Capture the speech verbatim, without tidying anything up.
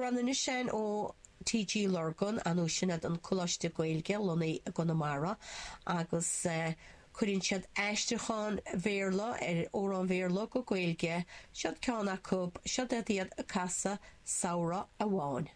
Amhrán anois sin ó TG Lurgan anú sin an Coláiste Gaeilge lonnaithe i gConamara agus uh, cuireann siad aistriúchán Béarla ar amhrán Béarla go Gaeilge, siod ceann acu siod iad ag casadh samhradh amháin.